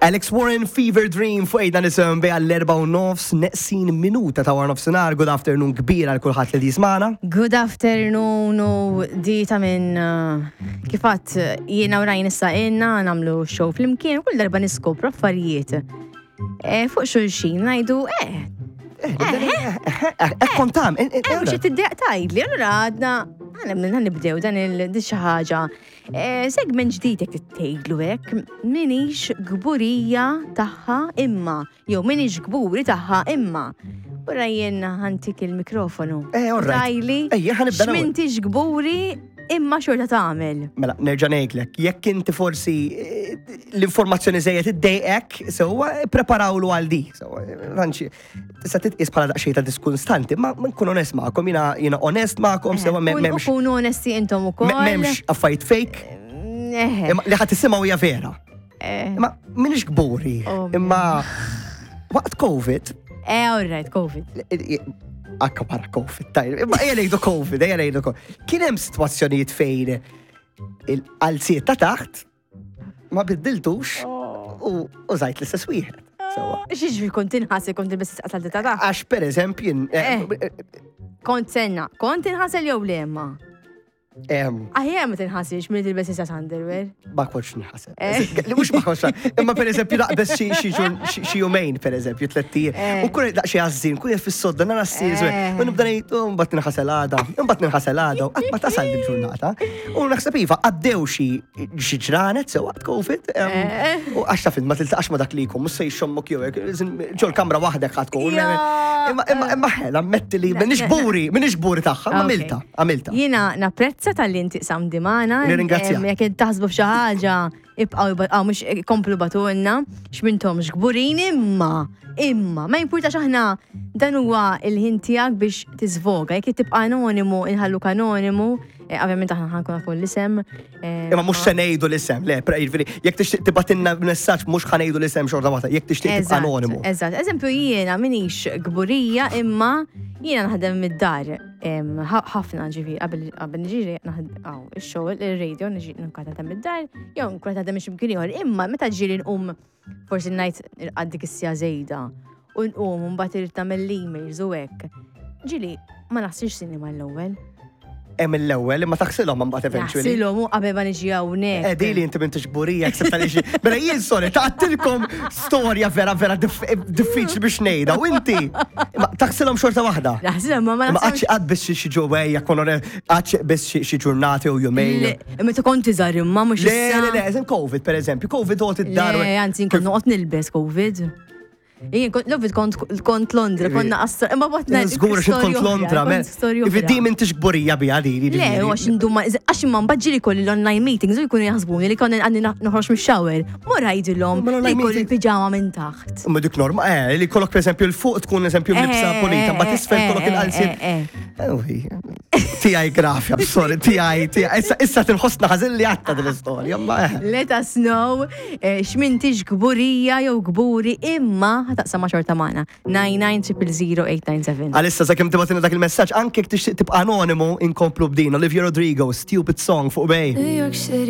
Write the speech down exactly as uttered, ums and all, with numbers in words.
Alex Warren, Fever Dream, fuq ejda nisem bej għall-erba u nofs, neqsin minuta ta' war nofsinhar. Good afternoon kbira għal kulħadd li jismagħna. Good afternoon u di ta' minn uh, kifat jiena u Ryan issa inna nagħmlu show flimkien, kull darba niskopru affarijiet. Eh, fuq xulxin ngħidu, eh, Eh, kontam. eh, mhux tiddejjaq tgħidli, allura għadna għana nibdew dan il di xi ħaġa. Eh, Segment ġdid jekk tgħidlu hekk, minix kburija tagħha imma, jew minix kburi tagħha imma. U Ryan ħa ntik il-mikrofonu. Eh, all right. Tgħidli, Ejja, ħa nibda l-ewwel. x'mintix kburi imma xorta tagħmel. Mela, nerġa' ngħidlek, jekk inti forsi eh, l-informazzjoni żejjed iddejqek, sewwa preparawlu għal di. Sewwa, ranċi, tista' titqis bħala daqsxejn ta' diskunstanti, ma nkun onest magħkom, jiena jiena onest magħkom, sewwa Kun- m'hemmx Kunu onesti intom ukoll. m'hemmx affarijiet fake, Eħe. imma li ħadd tisimgħu hija vera. Eh, Imma minix kburi, Oh, imma waqt Covid, Eh, all right, Covid. Akka para Covid, tajr, imma ejja ngħidu Covid, ejja ngħidu Covid. Kien hemm sitwazzjonijiet fejn il-qalziet ta' taħt ma biddiltux u użajt l-istess wieħed. Sewwa. X'jiġri kont tinħasel kont tilbes qasal ta' taħt? Għax per eżempju, jien- eh, Kont senna, kont tinħasel jew le ma? em, Aħjar ma tinħasilx milli tilbes issa underwear. Ma kontx nħasel. Eh. Li mhux ma kontx Imma per eżempju naqbes xi xi ġur- xi xi jumejn per eżempju tlett ijiem. Eh. U kun daqsxejn għażżin, kun fis-sodda nara s-sir, Eh. u nibda ngħid, "Oh, mbagħad ninħasel għada, mbagħad ninħasel għada, u qatt ma tasal il-ġurnata. U naħseb iva għaddew xi xi ġranet sew waqt Covid. em, Eh. U għax taf int ma tiltaqax ma dak li jkun, mhux se jxommok jew hekk, ġol kamra waħdek ħa tkun. Ja. Imma imma imma ħela, ammetti li minix kburi, minix kburi tagħha, ma Ok. għamilta, għamilta. Jiena napprezza talli inti qsamt di magħna. Nirringrazzjak. Em, Jekk taħsbu f'xi ħaġa, ibqgħu ibgħu mhux komplu ibagħtulna, x'mintomx kburin imma, imma, ma jimpurtax aħna dan huwa il-ħin tiegħek biex tiżvoga, jekk tibqa' anonimu, inħalluk anonimu, eh, ovvjament aħna ħa nkun nafu l-isem. eh, Imma mhux se ngħidu l-isem, le, pre- jiġifieri, jekk tixtieq tibgħatilna messaġġ mhux ħa ngħidu l-isem xorta waħda, jekk tixtieq tibqa' Eżatt, anonimu. Eżatt, eżempju jiena minix kburija imma jiena naħdem mid-dar em, ħa- ħafna ġifieri qabel qabel niġi naħdem aw ix-xogħol ir-radio niġi nkun naħdem mid-dar jew nkun naħdem xi ieħor imma meta ġieli nqum forsi ngħid irqad dik is-siegħa żejda u nqum u mbagħad irid tagħmel l-emails u hekk. Ġieli ma naħsilx sinni mal-ewwel. Hemm l-ewwel imma taħsilhom mbagħad eventually. Naħsilhom u qabel ma niġi hawnhekk. Eh, di li inti m'intix kburija, except għaliex. Mela jien sorry, taqtilkom storja vera vera dif- diffiċli biex ngħidha u inti ma taħsilhom xorta waħda. Naħsilhom ma ma Ma naħsilhomx. għadx qatt biss xi ġewwejja kon qatt biss xi xi ġurnati u jumejn. Le, Meta kont iżgħar imma mhux Le, issa. le, le, eżem Covid per eżempju, Covid għot id-dar. Le, anzi, nkun noqgħod nilbes Covid. Jien kont Covid kont kont Londra, konna qastra, imma botna. Żgur xi kont Londra, men. Ifiddi m'intix kburija biha di. Le, jiġifieri. u għax induma, għax imma mbagħad ġieli kolli l-online meetings u jkunu jaħsbuni li konna għandi noħroġ mix-shower. Mur għidilhom Ma l-online li kolli meeting- l-pijama minn taħt. Ma dik norma, eh, li kollok per eżempju l-fuq tkun eżempju libsa Eh, pulita, ma eh, tisfel eh, kollok eh, il-qalziet. eh, eh. Uwi, Tijaj grafja, sorry, tijaj, tijaj. Issa, issa tinħossna ħażin li għatta din l-istorja, ma eh. Let us know eh, x'mintix kburija jew kburi imma ħa taqsam ma' xorta magħna. nine nine zero zero eight nine seven. Għalissa sakemm tibgħatilna dak il-messaġġ, anke jekk tixtieq tibqa' anonimu, inkomplu b'din. Olivia Rodrigo, "Stupid Song" fuq Bay. New York City.